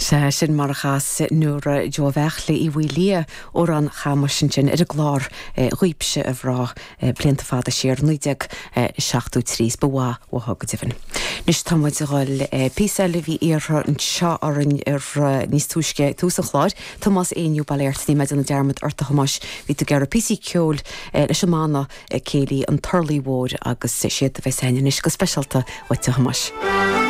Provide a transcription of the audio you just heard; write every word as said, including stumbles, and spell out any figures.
Sea, sin mar a chas Nóra Joe Bheartla Uí Mhaoilia Amhrán Chamuis ansin ar an gclár Dhaoibhse a Mhná blianta fada siar naoi déag seachtó trí is ba mhaith uathu go deimhin. Anois tá muid a dhul píosa eile a bhí iarrtha anseo orainn ar níos túisce tús an chláir, Tomás Éinniú Baile Airt, níl mé ag déanamh dearmad ort a Thomáis, bhí tú ag iarraidh píosaí ceoil leis an mbanna céilí An Turlaigh Mhór agus siad a bheas againn anois go speisialta dhuit a Thomáis.